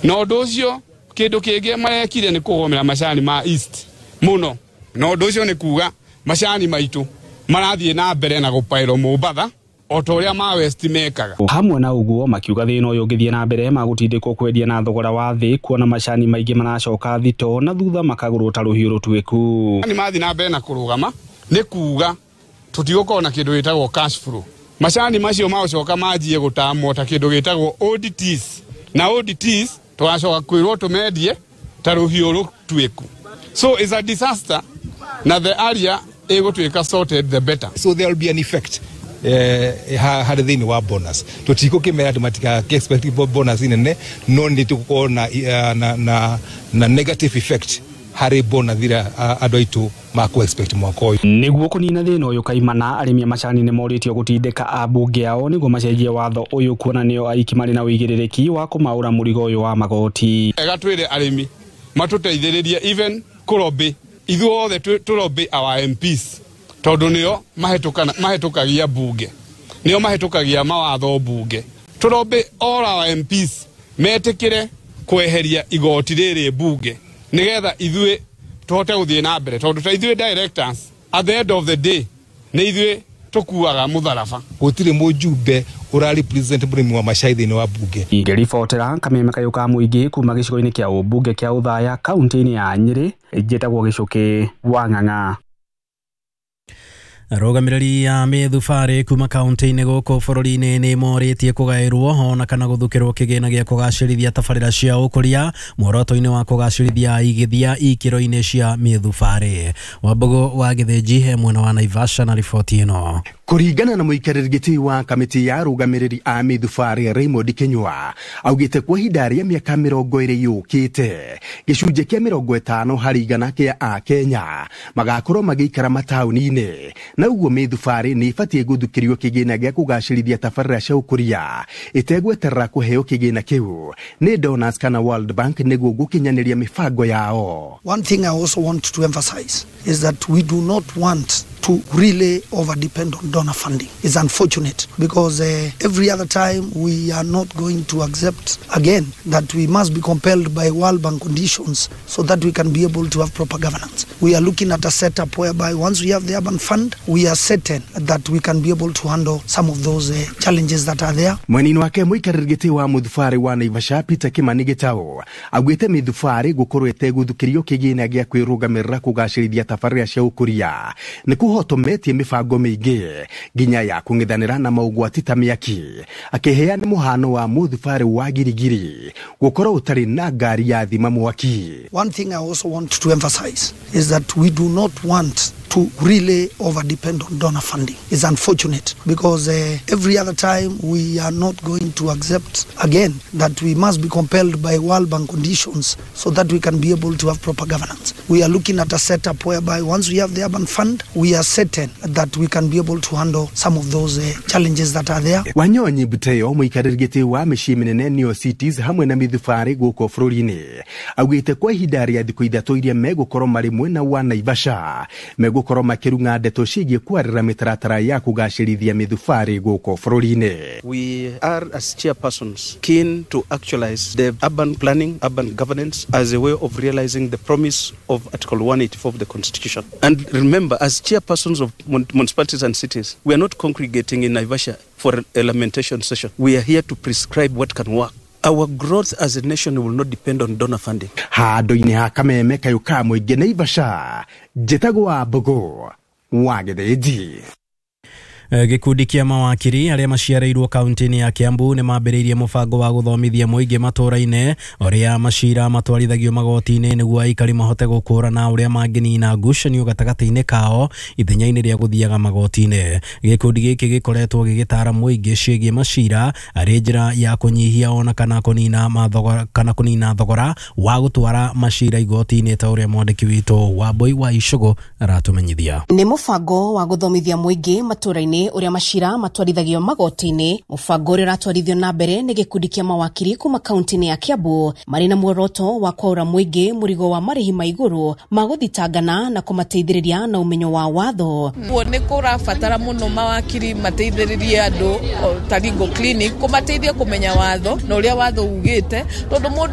Na ũndũ ũcio kĩndũ kĩngĩ marekire nĩ kũgomera macani ma East mũno, na ũndũ ũcio nĩ kuga macani maitũ marathiĩ na mbere na gũpaĩrwo Mombatha o ta ũrĩa ma West mekaga. Hamwe na ũguo, makiuga thĩna ũyũ ũngĩthiĩ na mbere magũtindĩkwo kwendia na thogora wa thĩ, kuona macani maingĩ maracoka thito na thutha makagũrwo ta rũhiũ rũtuĩku. Macani mathiĩ na mbere na kũrũgama nĩ kuga tũtigũkorwo na kĩndũ gĩtagwo cash flow. Macani macio magũcoka manjie gũtamwo ta kĩndũ gĩtagwo old teas, na old teas tũgacoka kwĩrwo tũmendie ta rũhiũ rũtuĩku. So it's a disaster, na the area ĩgũtuĩka sorted the better. So there will be an effect harĩ thĩinĩ wa bonus. Tũtigũkĩmera andũ matigakĩ expect bonus nene, no nĩ tũgũkorwo na negative effect harĩ bonus iria andũ aitũ makũ expect mwaka ũyũ. Nĩguo kũnina thĩna ũyũ kaimana, arĩmi a macani nĩ morĩtio gũtindĩka ambunge ao nĩguo macenjie watho ũyũ, kuona nĩo aiki marĩ na ũigĩrĩrĩki wa kũmaũra mũrigo ũyũ wa magoti. Ega twĩre arĩmi matũteithĩrĩrie even kũrobĩ ithuothe tũrobĩ our MPs, tondũ nĩo mahĩtũkagia mbunge, nĩo mahĩtũkagia mawatho mbunge. Tũrobĩ all our MPs metĩkĩre kweheria igoti rĩrĩ mbunge nĩgetha ithuĩ tũhote gũthiĩ na mbere, tondũ ta ithuĩ directors at the end of the day nĩ ithuĩ tũkuaga mũtharaba. Gũtirĩ mũjumbe ũra represent mũrĩmi wa macai thĩinĩ wa mbunge. Ngĩribotera kameme kayũ ka mũingĩ kuma gĩcigo-inĩ kĩa ũmbunge kĩa Othaya kaunti-inĩ ya Nyĩrĩ, njĩtagwo Gĩcũkĩ wa Ng'ang'a. Arũgamĩrĩri a mĩthubarĩ kuma kaunti-inĩ gũkũ bũrũri-inĩ nĩ morĩtie kũgaĩrwo ona kana gũthukĩrwo kĩgĩna gĩa kũgacĩrithia tabarĩra cia ũkũria muoroto-inĩ wa kũgacĩrithia igithia ikĩro-inĩ cia mĩthubarĩ. Wambũgũ wa Gĩthĩnji he mwena wa Naivasha na riboti ĩno. Kũringana na mũikarĩri gĩtĩ wa kamĩtĩ ya arũgamĩrĩri a mĩthubarĩ Raymond Kinyua, augĩte kwa ihinda rĩa mĩaka 20 yũkĩte gĩcunjĩ kĩa 50 harĩ igana kĩa Akenya magakorwo magĩikara mataũni-inĩ, na ũguo mĩthubarĩ nĩ ĩbatiĩ gũthukĩrio kĩgĩna gĩa kũgacĩrithia tabarĩra cia ũkũria ĩtegweterera kũheo kĩgĩna kĩu nĩ donors kana World Bank nĩguo gũkinyanĩria mĩbango yao. One thing I also want to emphasize is that we do not want to really over depend on donor funding. It's unfortunate because every other time we are not going to accept again that we must be compelled by World Bank conditions so that we can be able to have proper governance. We are looking at a setup whereby once we have the urban fund, we are certain that we can be able to handle some of those challenges that are there. Mwenini wake mũikarĩri gĩtĩ wa mũthubarĩ wa Naivasha Peter Kimani Gitau augĩte mĩthubarĩ gũkorwo ĩtegũthukĩrio kĩgĩna gĩa kwĩrũgamĩrĩra kũgacĩrithia tabarĩra cia ũkũria nĩ kũhotometie mĩbango mĩingĩ nginya ya kũng'ethanĩra na maũgwati ta mĩaki, akĩheana mũhano wa mũthubarĩ wa Girigiri gũkorwo ũtarĩ na ngari ya thima mwaki. One thing I also want to emphasize is that we do not want to really over depend on donor funding. It's unfortunate because every other time we are not going to accept again that we must be compelled by World Bank conditions so that we can be able to have proper governance. We are looking at a setup whereby once we have the urban fund, we are certain that we can be able to handle some of those challenges that are there. Wanyonyi Buteo mũikarĩri gĩtĩ wa mĩciĩ mĩnene nĩyo cities hamwe na mĩthubarĩ gũkũ bũrũri-inĩ augĩte kwa ihinda rĩa thikũ 3 iria megũkorwo marĩ mwena wa Naivasha megũkorwo makĩrung'a ndeto ciĩgiĩ kwarĩra mĩtaratara ya kũgacĩrithia mĩthubarĩ gũkũ bũrũri-inĩ. We are as chairpersons keen to actualize the urban planning, urban governance as a way of realizing the promise of Article 184 of the Constitution. And remember, as chairpersons of municipalities and cities, we are not congregating in Naivasha for a lamentation session. We are here to prescribe what can work. Our growth as a nation will not depend on donor funding. Handũ-inĩ ha kameme kayũ ka mũingĩ Naivasha, njĩtagwo Wambũgũ wa Gĩthĩnji. Gĩkundi kĩa mawakiri arĩa maciarĩirwo kaunti-inĩ ya Kiambu nĩ mambĩrĩirie mũbango wa gũthomithia mũingĩ matũũra-inĩ ũrĩa macira matwarithagio magoti-inĩ nĩguo aikari mahote gũkũrana ũrĩa mangĩnina ngucanio gatagatĩ-inĩ kao ithenya-inĩ rĩa gũthiaga magoti-inĩ. Gĩkundi gĩkĩ gĩkoretwo gĩgĩtara mũingĩ ciĩgiĩ macira arĩ njĩra ya kũnyihia ona kana kũnina thogora wa gũtwara macira igoti-inĩ ta ũrĩa mwandĩki witũ Wambui wa Icũgũ aratũmenyithia. Nĩ mũbango wa gũthomithia mũingĩ matũũra-inĩ ũrĩa macira matwarithagio magoti-inĩ, mũbango ũrĩa ũratwarithio na mbere nĩ gĩkundi kĩa mawakiri kuma kaunti-inĩ ya Kiambu marĩ na muoroto wa kwaũra mũingĩ mũrigo wa marĩhi ma igũrũ ma gũthitangana na kũmateithĩrĩria na ũmenyo wa watho. Guo nĩ kũrabatara mũno mawakiri mateithĩrĩrie andũ ta legal clinic kũmateithia kũmenya watho na ũrĩa watho ugĩte, tondũ mũndũ